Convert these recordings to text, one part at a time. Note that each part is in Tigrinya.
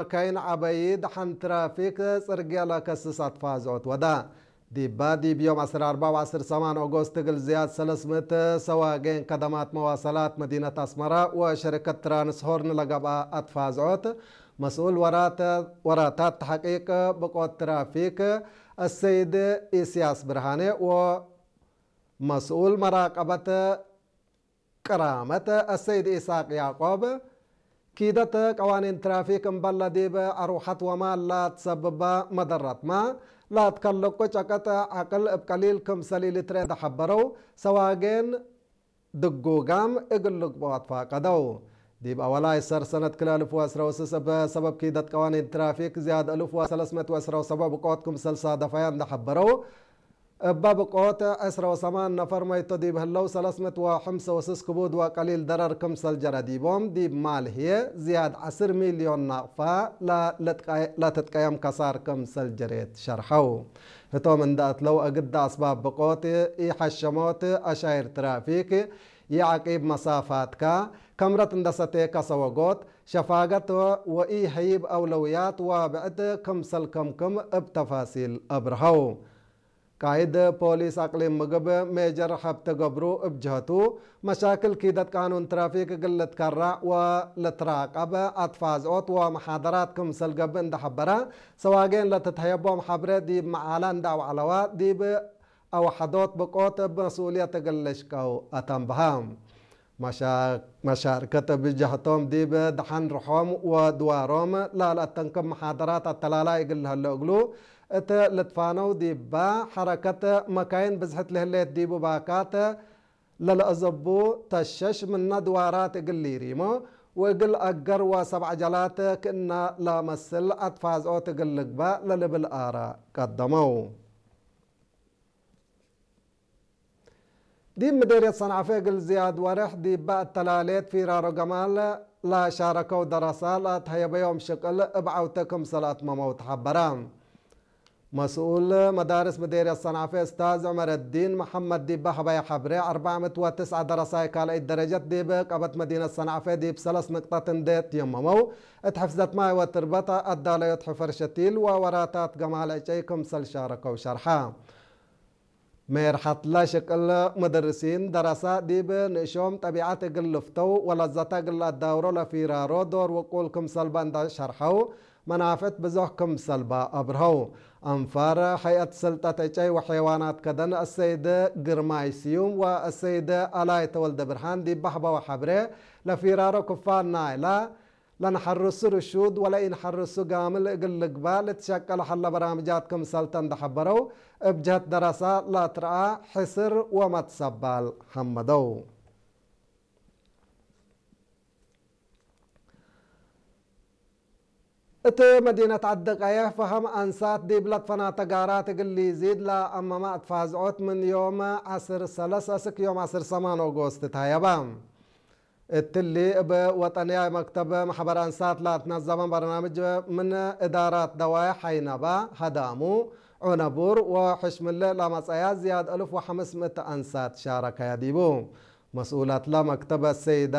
መካይን ዓበዪ ደሓን ትራፊክ ጽርግያ ለከስስ ኣትፋዝዖት ወዳ። ዲባ ዲብ ዮም ዓሰርተ ኣርባዕ ወዓሰርተ ሰማን ኦጎስት እግል ዝያድ ሰለስምእት ሰዋጌን ከደማት መዋሰላት መዲነት ኣስመራ ወሸሪከት ትራንስሆርን ለገብኣ ኣትፋዝዖት መስኡል ወራት-፣ ወራታት ተሕቂቅ ብቆት ትራፊክ ኣሰይድ ኢስያስ ብርሃኔ ወመስኡል መራቀበት ቅራመት ኣሰይድ ኢሳቅ ያቆብ፣ ኪደት ቀዋኒን ትራፊክ እምበል ዲብ ኣርውሐት ወማል ላትሰብባ መደረትማ፣ ላትከልቁ ጨቀጥ ዓቅል እብ ቀሊል ክምሰል ኢልትርኤ ደሐበረው፣ ሰዋጌን ድጉጋም እግል ልግብኦ ኣትፋቀደው። ዲብ ኣወላይ ሰር ሰነት ክለ እልፍ ወዕስረ ወስስ እብ ሰበብ ኪደት ቀዋኒን ትራፊክ ዝያድ እልፍ ወሰለስመት ወዕስረ ወሰቦዕ ብቆት ክምሰል ሳደፋያ እንደሐበረው፣ እበ ብቆት ዕስረ ወሰማን ነፈር መይቶ ዲብ ህለው፣ ሰለስመት ወሐምሰ ወስስ ክቡድ ወቀሊል ደረር ክምሰል ጀረ ዲቦም፣ ዲብ ማል ህዬ ዝያድ ዐስር ሚልዮን ናቅፋ ለ-፣ ለትቀ-፣ ለትጥቀየም ከሳር ክምሰል ጀሬት ሸርሐው። ህቶም እንደ እትለው እግዳ ኣስባብ ብቆት፣ ኢሐሸሞት፣ ኣሻይር ትራፊክ፣ ኢዐቂብ መሳፋትካ፣ ከምረት እንደ ሰቴ ከሰወጎት፣ ሸፋገት ወኢሀይብ አውለውያት ወብዕድ ክምሰል ከምክም እብ ተፋሲል አብርሀው። ቃይድ ፖሊስ አቅሊም ምግብ ሜጀር ሐብተ ገብሩ እብ ጀህቱ፣ መሻክል ኪደት ቃኑን ትራፊክ እግል ልትከራዕ ወልትራቀብ አትፋዝኦት ወመሓደራት ክምሰል ገብእ እንደ ሐበረ፣ ሰዋጌን ለትትሀየቦም ሐብረ ዲብ መዓላ እንደ አውዐለዋ፣ ዲብ አውሐዶት ብቆት እብ መስኡልየት እግል ልሽቀው አተንብሀ። መሻ-፣ መሻርከት እብ ጀህቶም ዲብ ደሐን ርሖም ወድዋሮም ላለአተንክብ መሓደራት አተላላይ እግል ለህሎ እግሉ እት ልትፋነው ዲባ ሐረከት መካይን ብዝሕት ለህሌት ዲቡ ባካት ለለአዘቡ ተሸሽ ምነ ድዋራት እግል ሊሪሞ ወእግል አገር ወሰብ ዐጀላት ክእነ ለመስል አትፋዝኦት እግል ልግባእ ለልብል አራ ቀደመው። ዲብ ምዴርየት ሰንዓፈ እግል ዝያድ ወርሕ ዲባ እተላሌት ፊራሮ ገማል ለሻረከው ደረሳ ለአትሀየበዮም ሽቅል እብ ዐውተ ክምሰል አትመመው ተሐበረ። መስኡል መዳርስ ምዴርየት ሰንዓፈ እስታዝ ዑመረዲን መሐመድ ዲባ ሀበየ ሐብሬ፣ አርበዕ ምእት ወትስዐ ደረሳይ ካልአይት ደረጀት ዲብ ቀበት መዲነት ሰንዓፈ ዲብ ሰለስ ንቅጠት እንዴ ትየመመው፣ እት ሕፍዘት ማይ ወትርበት አዳለዮት ሕፈር ሸቲል ወወራታት ገማል ዕጨይ ክምሰል ሻረከው ሸርሐ። ሜርሐትለ ሽቅል ምድርሲን ደረሳ ዲብ ንእሾም ጠቢዐት እግል ልፍተው ወለዘተ እግል ለአዳውሮ ለፊራሮ ዶር ውቁል ክምሰልባ እንደ ሸርሐው፣ መናፍዕት ብዞሕ ክምሰልባ አብርሀው። አንፋር ሀይአት ስልጠት ዕጨይ ወሐይዋናት ከደን አሰይድ ግርማይ ስዩም ወአሰይድ አላይ ተወልደ ብርሃን ዲብ በህበወ ሐብሬ፣ ለፊራሮ ክፋል ናይላ ለንሐርሱ ርሹድ ወለኢንሐርሱ ጋምል እግል ልግባእ ልትሸቀል ሐለ በራምጃት ክምሰልተ እንደ ሐበረው፣ እብ ጀህት ደረሳ ለትረአ ሕስር ወመትሰባል ሐመደው። እት መዲነት ዐዲ ቀየሕ ፈሀም አንሳት ዲብ ለትፈናተ ጋራት እግል ሊዚድ ለአመመ አትፋዝዖት ምን ዮም ዐስር ሰለስ እስክ ዮም ዐስር ሰማን ኦጎስት ተሀየበ። እትሊ እብ ወጠንያይ መክተብ መሕበር አንሳት ለአትነዘመ በርናምጅ ምን እዳራት ደዋይ ሐይነባ፣ ሀዳሙ፣ ዑነቡር ወሕሽምለ ለመጸያ ዝያድ እልፍ ወሐምስ ምእት አንሳት ሻረከያ ዲቡ። መስኡላትለ መክተብ አሰይዳ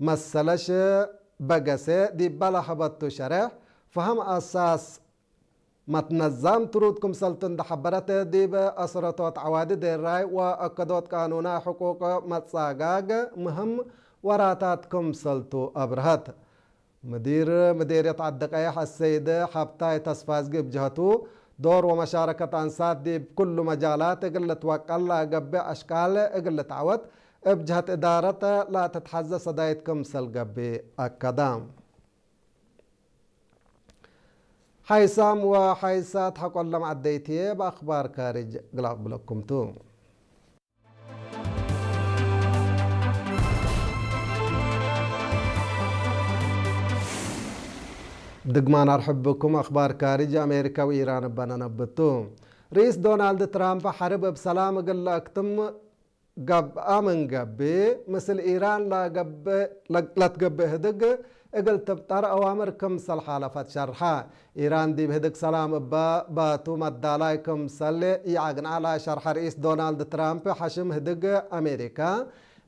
መሰለሽ በገሴ ዲባ ለሀበቱ ሸሬሕ፣ ፈሀም አሳስ መትነዛም ትሩድ ክምሰልቱ እንደ ሐበረት፣ ዲብ አስረቶት ዐዋዲ ዴራይ ወአከዶት ቃኑናይ ሕቁቅ መጻጋግ ምህም ወራታት ክምሰልቱ አብርሀት። ምዲር ምዴርየት ዐዲ ቀየሕ አሰይድ ሐብታይ ተስፋዝጊ እብ ጀህቱ፣ ዶር ወመሻረከት አንሳት ዲብ ኩሉ መጃላት እግል ልትወቀል ለገብእ አሽቃል እግል ልትዐወት፣ እብ ጀህት እዳረት ለትትሐዘ ሰዳይት ክምሰል ገብእ አከደ። ሓይሳም ወሓይሳት ሓቆሎም ዓደይትየ ብኣኽባር ካርጅ ግላቕ ብለኩምቱ። ድግማን ኣርሕብኩም ኣኽባር ካርጅ ኣሜሪካ ወኢራን እበ ነነብቱ። ርኢስ ዶናልድ ትራምፕ ሓርብ እብ ሰላም እግል ለአክትም ገብኣ ምን ገብእ፣ ምስል ኢራን ለገብእ፣ ለትገብእ ህድግ እግል ትብጠር አዋምር ክምሰል ሓለፈት ሸርሐ። ኢራን ዲብ ህድግ ሰላም እበ ባቱ መዳላይ ክምሰል ይአግንዓ ለሸርሐ ርኢስ ዶናልድ ትራምፕ፣ ሐሽም ህድግ አሜሪካ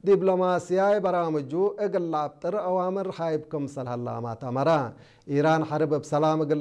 ዲፕሎማሲያይ በራምጁ እግል ለአብጥር አዋምር ሀይብ ክምሰል ሀላ ማት አመረ። ኢራን ሐርብ እብ ሰላም እግል